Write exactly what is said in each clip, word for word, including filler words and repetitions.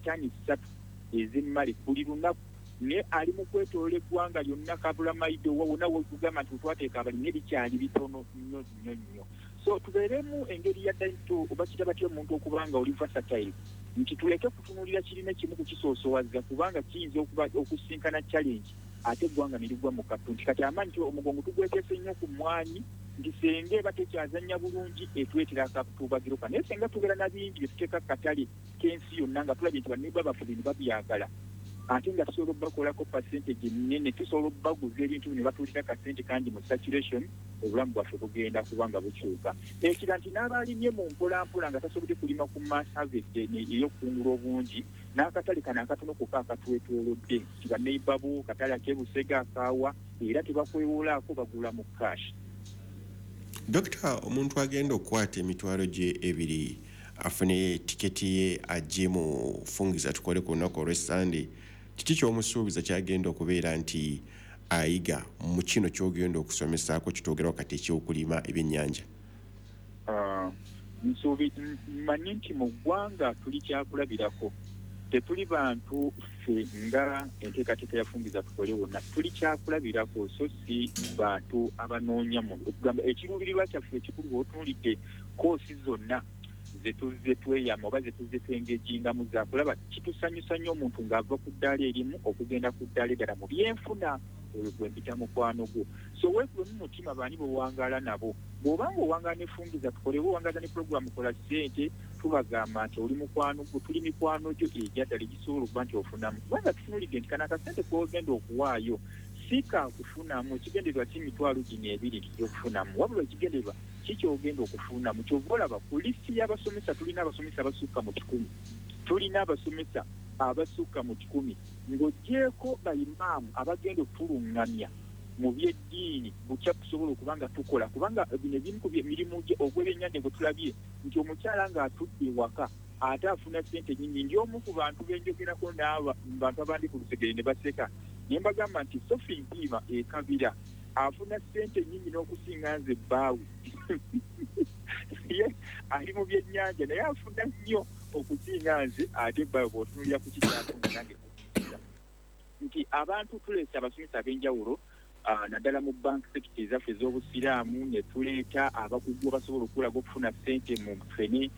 ttani ssatu ez'emmale buli lunaku, naye ali mu kwetoola eggwanga lyonna kabula maido wonna wokugamba nti twateeka abalimi ebikyali bitono nnyo nnyo nnyo. So tubeeremu engeri ya ddaito oba kita batya omuntu okuba nga oli versatile, nti tuleke kutunuulira kirina kimu kukisoosowaza kubanga kiyinza okuba okusinkana challenge ate eggwanga ne ligwa mu kattu. Nti kati amaanyi omugongo tugweteese nnyo ku mmwanyi, nti senga eba tekyazannya bulungi etwetera akatuubagiro ka, naye senga tubeera na bingi bye tuteeka ku katale k'ensi yonna nga tulabye nti banneighbour baffe bino babyagala, ate nga tusobola obbakolako percentage nnene, tusobola obbaguza ebintu bino batuulira kasente kangi mu saturation, obulamu bwaffe bugenda kuba nga bukyuka. Ekira nti n'abalimye mu mpolampola nga tasobodde kulima ku mass harvest ey'okukungula obungi, n'akatale kano akatono kokka akatwetoolodde nti banneighbour bo katale ak'e Busega akaawa era tebakwewolaako, bagula mu cash. Dokita, omuntu agenda okukwata emitwalo gye ebiri afune tiketi ye ajje mu Fungiza Tukole ku lunaku olw'Essande, kiki ky'omusuubiza kyagenda okubeera nti ayiga mu kino ky'ogenda okusomesaako kitwogerawo kati ekyokulima ebyennyanja? Ah, nsuubi mmanyi nti mu ggwanga tuli kyakulabirako, tetuli bantu ffe nga enteekateeka ya Fungiza Tukole wonna tuli kyakulabirako, so si bantu abanoonya mu okugamba ekiruubirirwa kyaffe ekikulu. Bw'otunuulidde koosi zonna ze tuzze tweyama oba ze tuzze twengegingamu zakulaba kitusanyusa nnyo omuntu ng'ava ku ddaala erimu okugenda ku ddaala eddala mu byenfuna, oyo gwe mpita mukwano gwo. So weekubemu mutima baani b'owangaala nabo. Bw'obanga owangaala ne Fungiza Tukole oba owangaala ne puroguramu Kola Ssente, tubagamba nti oli mukwano gwo, tuli mikwano gyo egyaddala egisobola okuba nti ofunamu, kubanga tutunuulidde nti kano akasente k'ogenda okuwaayo si kakufunamu. Ekigendererwa si mitwalo gino ebiri nti gyokufunamu, wabula ekigendererwa kikyogenda okufunamu. Kyova olaba ku lisiti y'abasomesa tulina abasomesa abasukka mu kikumi, tulina abasomesa abasukka mu kikumi ng'oggyeeko bayimaamu abagenda okutulungamya mu byeddiini butya tusobola okuba nga tukola, kubanga bino ebimu ku mirimu ogw'ebyennyanja gwe tulabye nti omukyala ng'atudde ewaka ate afuna ssente nnyingi. Ndi omu ku bantu benjogerako n'aba bantu abandi ku lusegere ne baseka, ne mbagamba nti Sophie Mpiima e Kabira afuna ssente nnyingi n'okusinga nze bbaawe. Ye ali mu byennyanja naye afuna nnyo okusinga nze ate bbaawe bw'otunuulira ku kikyafuna nange nti abantu tuleese abasomesa ab'enjawulo uh, naddala mu bank sector ezaffe ez'obusiraamu, ne tuleeta abakugu abasobola okulaga okufuna ssente mu ffene,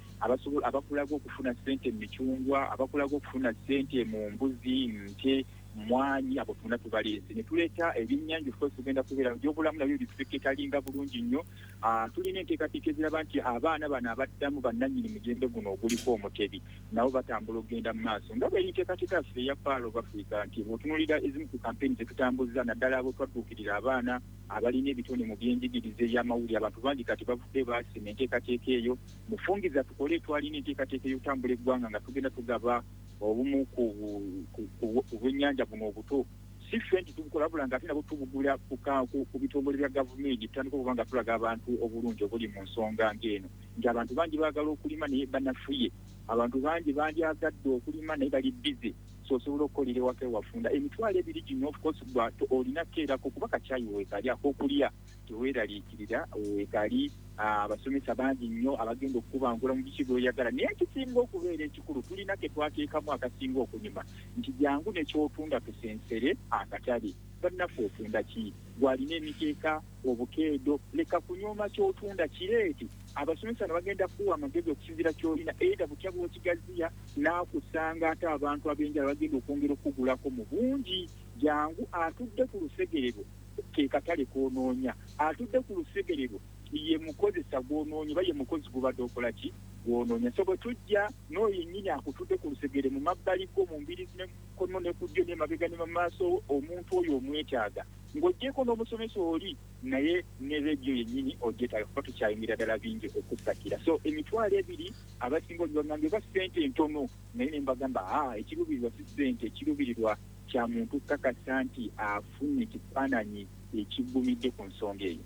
abakulaga okufuna ssente mu micungwa, abakulaga okufuna ssente mu mbuzi, nte, mwanyi, abo tuna tubaleese. Ne tuleeta ebyennyanja, of course tugenda kubeera byobulamu nabyo bitufeketalinga bulungi nnyo. uh, tulina enteekateeka eziraba nti abaana bano abaddamu bannannyini mugendo guno oguliko omutebi nabo batambula okugenda mu maaso nga bweri nteekateeka yaffe eya Pearl of Africa, nti bw'otunuulira ezimu ku kampeyini zetutambuza naddala abo twadduukirira abaana abalina ebitone mu byenjigiriza ebyamawulire. Abantu bangi kati bavudde baasima enteekateeka eyo. Mufungiza Tukole twalina enteekateeka ey'okutambula eggwanga nga tugenda tugaba obumu ku bwennyanja buno obuto, si ffe nti tubukola wabula nga ate nabo tubugula ku bitongole bya gavumenti. Tutandika okuba nga tulaga abantu obulungi obuli mu nsonga ng'eno, nti abantu bangi baagala okulima naye banafuye, abantu bangi bandyagadde okulima naye bali busy. So osobola okukolera ewaka ewafunda emitwalo ebiri gino. Of course olina kukeerako kuba kakyayi weekali ak'okulya, teweeraliikirira, weekali abasomesa bangi nnyo abagenda okukubangula mu biki byoyagala. Naye ekisinga okubeera ekikulu, tulina ke twateekamu akasinga okunyuma nti jangu nekyotunda tusensere akatale. Bannaffe, otunda ki? Gwalina emikeeka, obukeedo, leka kunyooma kyotunda, kireete. Abasomesa ne bagenda kuwa amagezi okusinziira kyolina either butya bw'okigaziya n'akusanga ate abantu ab'enjala bagenda okwongera okukugulako mu bungi. Jangu atudde ku lusegere lwo ke katale k'onoonya, atudde ku lusegere lwo ye mukozesa gw'onoonya oba ye mukozi gubadde okola ki gw'onoonya. So bwe tujja n'oyo yennyini akutudde ku lusegere mu mabbali go, mu mbirizi ne kono ne ku ddyo ne mabega ne mu maaso, omuntu oyo omwetaaga ng'oggyeko n'omusomesa oli naye ne rediyo yennyini ogyetaaga kuba tukyayingira ddala bingi okusakira. So emitwalo ebiri abasinga olibagambye oba ssente ntono, naye ne mbagamba aa ekiruubirirwa si ssente, ekiruubirirwa kya muntu kukakasa nti afuna ekifaananyi ekigumidde ku nsonga eyo.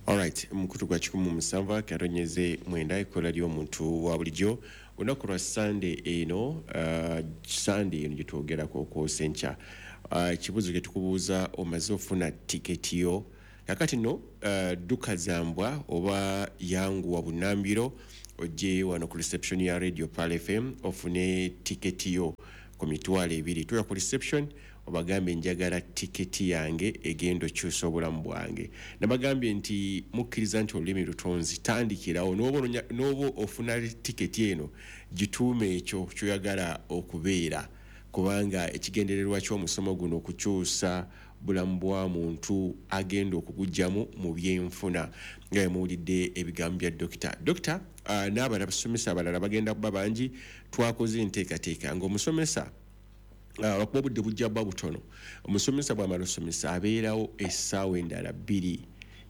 Alright, mukutu gwa kikumi musanvu akaronyeze mwenda, ekola ly'omuntu wa bulijjo. Olunaku lwa Sande eno, uh, Sande eno gyetwogerako okwosa enkya, ekibuuzo uh, kye tukubuuza, omaze ofuna tiketi yo? Kakati no uh, dduka zambwa oba yanguwa bunambiro. Ojje wano ku reception ya Radio Pearl F M ofune tiketi yo ku mitwalo ebiri. Tuya ku reception obagambe njagala tiketi yange egenda okyusa obulamu bwange. Nabagambye nti mukkiriza nti olulimi lutonzi, tandikirawo n'oba ofuna tiketi eno gituume ekyo ky'oyagala okubeera, kubanga ekigendererwa ky'omusomo guno okukyusa bulamu bwa muntu agenda okuguggyamu mu byenfuna. Nga muwulidde ebigambo bya dokita. Dokita uh, n'abalala abasomesa abalala bagenda kuba bangi. Twakoze enteekateeka ng'omusomesa lwakuba obudde bujja bba butono, omusomesa bw'amala osomesa abeerawo essaawa endala bbiri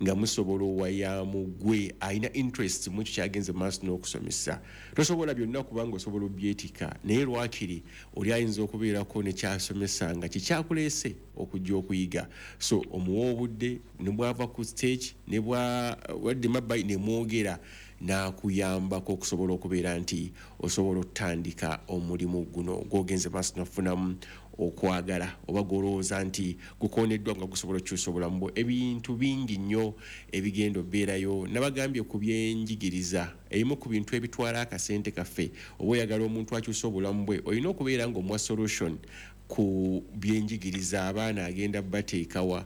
nga musobola owayaamu gwe alina interest mu ekyo kyagenze mu maaso n'okusomesa. Tosobola byonna kubanga osobola obyetika, naye lwakiri oli ayinza okubeerako ne kyasomesa nga kikyakuleese okujja okuyiga. So omuwa obudde ne bw'ava ku stage ne bwadde mabbayi ne mwogera n'akuyambako okusobola okubeera nti osobola okutandika omulimu guno gw'ogenze maaso n'okufunamu okwagala oba gw'olowooza nti gukoneddwa nga gusobola okukyusa obulamu bwo. Ebintu bingi nnyo ebigenda obeerayo. Nabagambye ku byenjigiriza, ebimu ku bintu ebitwala akasente kaffe, oba oyagala omuntu akyusa obulamu bwe olina okubeera ng'omuwa solution ku byenjigiriza. Abaana agenda bateekawa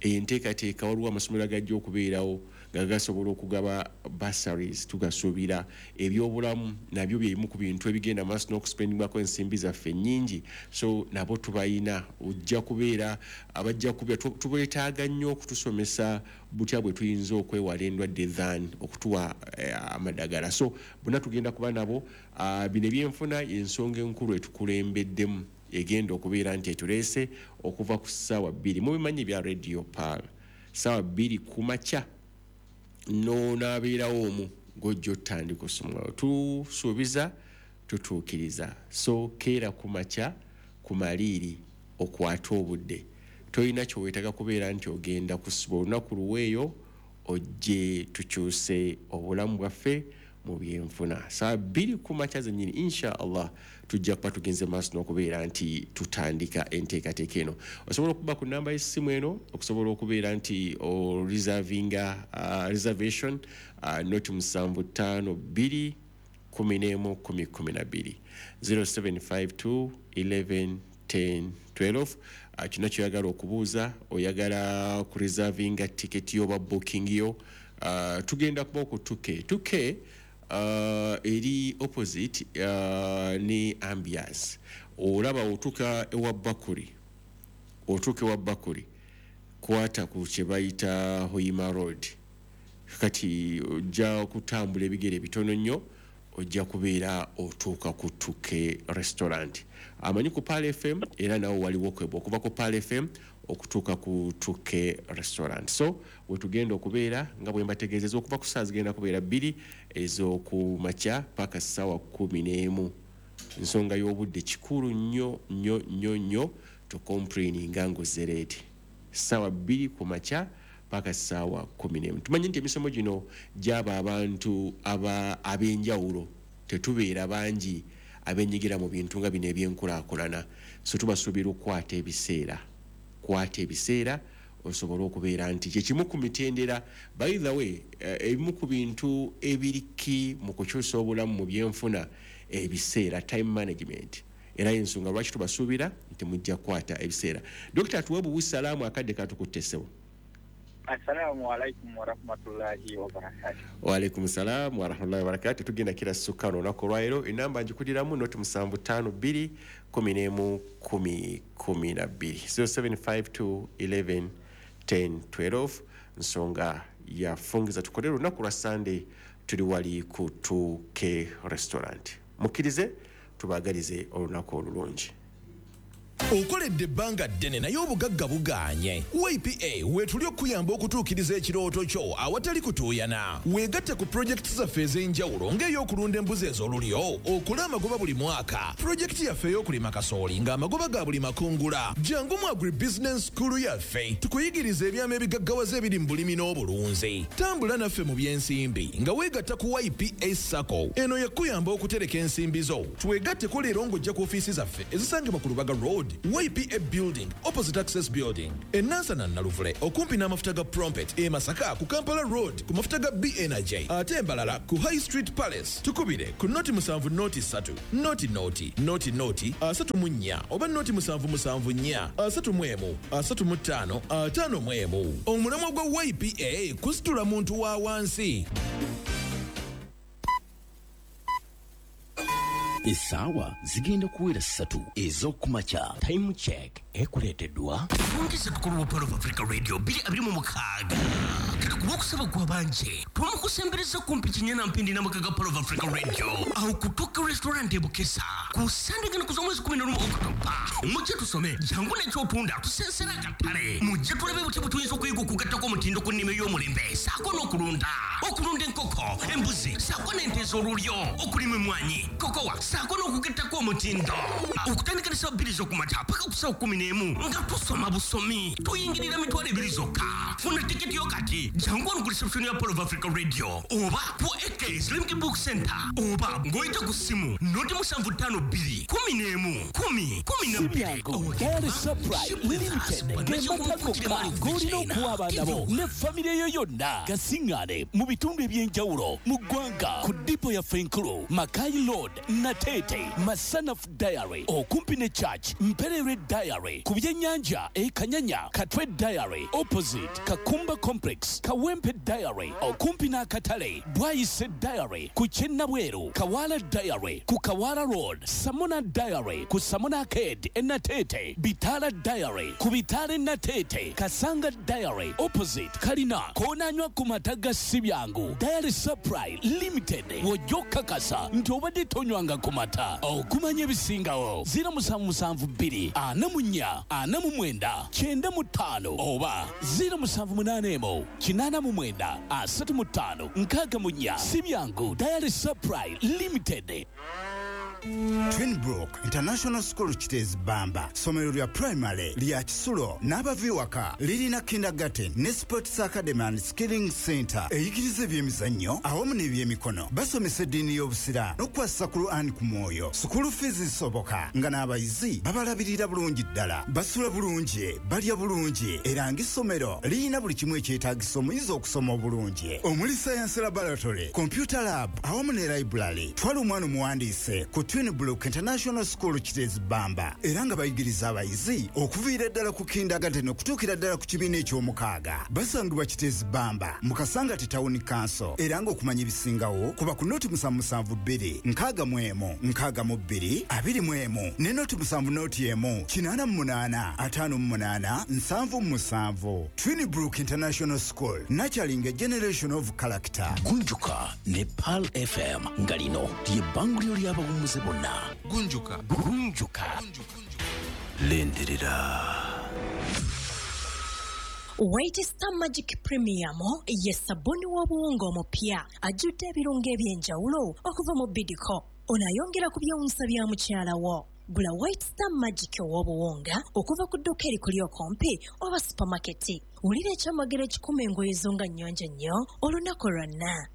enteekateeka, waliwo amasomero agajja okubeerawo nga gasobola okugaba bursaries, tugasuubira. Ebyobulamu nabyo byebimu ku bintu ebigenda maaso n'okuspendingwako ensimbi zaffe nnyingi, so nabo tubayina. Ojja kubeera abajja kubeera tubeetaaga nnyo okutusomesa butya bwe tuyinza okwewala endwadde than okutuwa eh, amadagala. So bonna tugenda kuba nabo. Uh, bino ebyenfuna ensonga enkulu etukulembeddemu egenda okubeera nti etuleese okuva ku ssaawa bbiri. Mubimanyi bya Radio Pearl, ssaawa bbiri ku makya n'onaabeerawo omu gw'ojja otandika osoma. Tusuubiza tutuukiriza. So keera ku makya ku maliiri okwate obudde. Tolina kyoweetaaga kubeera nti ogenda kusiba olunaku luweeyo, ojje tukyuse obulamu bwaffe mu byenfuna. Ssaawa bbiri ku makya zennyini insha Allah tujja kuba tugenze maaso n'okubeera nti tutandika enteekateeka eno. Osobola okuba ku namba y'essimu eno okusobola okubeera nti oreservinga uh, reservation uh, noti musanvu ttaano bbiri kumi n'emu kumi kumi na bbiri zero seven five two eleven ten twelve. Uh, kino kyoyagala okubuuza, oyagala ku reservinga ticket yo oba booking yo, uh, tugenda kuba ku two K. two K Uh, eri opposite uh, ne ambiance. Olaba otuuka ewa Bakuli, otuuka ewa Bakuli kwata ku kye bayita Hoima Road. Kati ojja kutambula ebigere bitono nnyo ojja kubeera otuuka ku two K restaurant. Amanyi ku Pearl F M era nawo waliwo kwebwa okuva ku Pearl F M okutuuka ku two K restaurant. So wetugenda okubeera nga bwe mbategeezezza okuva ku ssaawa zigenda kubeera bbiri ez'okumakya paka ssaawa kkumi n'emu. Ensonga y'obudde kikulu nnyo nnyo nnyo nnyo tukomplaininga ng'ozzereeti. Ssaawa bbiri ku makya paka ssaawa kkumi n'emu. Tumanyi nti emisomo gino gy'aba abantu ab'enjawulo, tetubeera bangi abenyigira mu bintu nga bino ebyenkulaakulana. So tubasuubira okukwata ebiseera, kwata ebiseera osobola okubeera nti kye kimu ku mitendera. By the way, ebimu ku bintu ebiriki mu kukyusa obulamu mu byenfuna ebiseera, time management. Era ensonga lwaki tubasuubira nti mujja kukwata ebiseera. Dokita tuwe buwi salaamu akadde katukutte ssebo. Assalamu alaikum warahmatullahi wabarakatuh. Wa alaikum salam warahmatullahi wabarakatuh. Tugenda kira sukka olunaku olwaleero. Enamba ngikudiramu noti musanvu ttaano bbiri kumi n'emu kumi kumi na bbiri zero seven five two eleven ten twelve. Nsonga ya fungiza tukole olunaku lwa Sunday tuli wali ku two K restaurant. Mukkirize tubaagalize olunaku olulungi. Okoledde ebbanga ddene naye obugagga bugaanye. Y P A weetuli okuyamba okutuukiriza ekirooto kyo awatali kutuuyana. Weegatte ku pulojekiti zaffe ez'enjawulo ng'ey'okulunda embuzi ez'olulyo, okola amagoba buli mwaka, pulojekiti yaffe ey'okulima kasooli ng'amagoba ga buli makungula. Jangu mu agribusiness school yaffe tukuyigirize ebyama ebigaggawaza ebiri mu bulimi n'obulunzi. Tambula naffe mu by'ensimbi nga weegatta ku Y P A SACCO. Eno yakuyamba okutereka ensimbi zo. Twegatteko leero ng'ojja ku ofiisi zaffe ezisangibwa ku Lubaga Road Y P A Building opposite Access Building, e Nansana Naluvule okumpi n'amafuta ga Prompet, e Masaka ku Kampala Road ku mafuta ga B Energy, ate Mbalala ku High Street Palace. Tukubire ku noti musanvu noti ssatu noti noti noti noti asatu mu nnya oba noti musanvu musanvu nnya asatu mu emu asatu mu ttaano ataano mu emu. Omulamwa gwa Y P A kusitula muntu wa wansi. Essaawa zigenda kuwera ssatu ez'okumakya. Time check ekuleeteddwa Fungiza Tukole wa Pearl of Africa Radio bbiri abiri mu mukaaga. Katukuba okusaba kwa banje twamukusembereza kumpi Kinyana Mpindi n'amaka ga Pearl of Africa Radio awo kutuuka restaurant e Bukesa ku Sande gano ku z'omwezi kumi n'olumu Okutoba. Mujje tusome jangu n'ekyotunda tusensera akatale, mujje tulabe butya bwe tuyinza okuyiga okugattako omutindo ku nnima ey'omulembe ssaako n'okulunda, okulunda enkoko, embuzi ssaako n'ente ez'olulyo, okulima emmwanyi, kokowa ssaako n'okugattako omutindo. Okutandika ne ssaawa bbiri z'okumakya paka ku ssaawa kkumi n'emu nga tusoma busomi, tuyingirira mitwalo ebiri zokka. Funa tiketi yo kati, jangu wano ku reception ya Pearl of Africa Radio oba ku A K Slimki Book Center oba ng'oyita ku ssimu noti musanvu ttaano bbiri kumi n'emu kumi kumi na bbiri. Dairy Supply Limited ge mata gokka g'olina okuwa abaana bo ne famire yo yonna. Gasiŋŋaane mu bitundu eby'enjawulo mu ggwanga ku dipo yaffe enkulu Makai Road, Natete, Masanaf Dairy okumpi ne Church, Mperere Dairy ku byennyanja e Kanyanya, Katwe Dairy opposite Kakumba Complex, Kawempe Dairy okumpi n'akatale, Bwayise Dairy ku Kyennabweru, Kawala Dairy ku Kawala Road, Samona Dairy ku Samona Arcade e Natete, Bitala Dairy ku Bitale Natete, Kasanga Dairy opposite Kalina, koonanywa ku mata ga Sibyangu. Dairy Supply Limited w'ojja okukakasa nti obadde tonywanga ku mata. Okumanya ebisingawo ziro musanvu musanvu bbiri ana mu nnya ana mu mwenda kyenda mu ttaano oba ziro musanvu munaana emu kinaana mu mwenda asatu mu ttaano nkaaga mu nnya. Sibyangu Dairy Supply Limited. Twinbrook International School Kiteezi Bamba, ssomero lya primary lya kisulo n'abava ewaka, lirina kindergarten ne sports academy and skilling center eyigiriza ebyemizannyo awamu n'ebyemikono. Basomesa eddiini y'obusiraamu n'okukwasisa Quran ku mwoyo. School fees zisoboka nga n'abayizi babalabirira bulungi ddala, basula bulungi, balya bulungi, era ng'essomero lirina buli kimu ekyetaagisa omuyizi okusoma obulungi, omuli science laboratory, computer lab awamu ne library. Twala omwana omuwandiise ku Twinbrook International School Kiteezi Bamba, era nga bayigiriza abayizi okuviira ddala ku kindergarten okutuukira ddala ku kibiina eky'omukaaga. Basangibwa Kiteezi Bamba mu Kasangati Town Council, era ng'okumanya ebisingawo kuba ku noti musanvu musanvu bbiri nkaaga mu emu nkaaga mu bbiri abiri mu emu ne noti musanvu noti emu kinaana mu munaana ataano mu munaana nsanvu mu musanvu. Twinbrook International School, nurturing a generation of character. Gunjuka ne Pearl F M nga lino ly'ebbanguliro ly'abawummuze bonna. Gunjuka. Gunjuka. Lindirira. White Star Magic Premium ye sabuni w'obuwunga omupya ajjudde ebirungo eby'enjawulo okuva mu Bidco. Ono ayongera ku byewuunyisa bya mukyala wo. Gula White Star Magic ow'obuwunga okuva ku dduuka erikuli okumpi oba supamaketi. Wulira ekyamagero ekikuma engoye zo nga nnyonjo nnyo olunaku lwonna.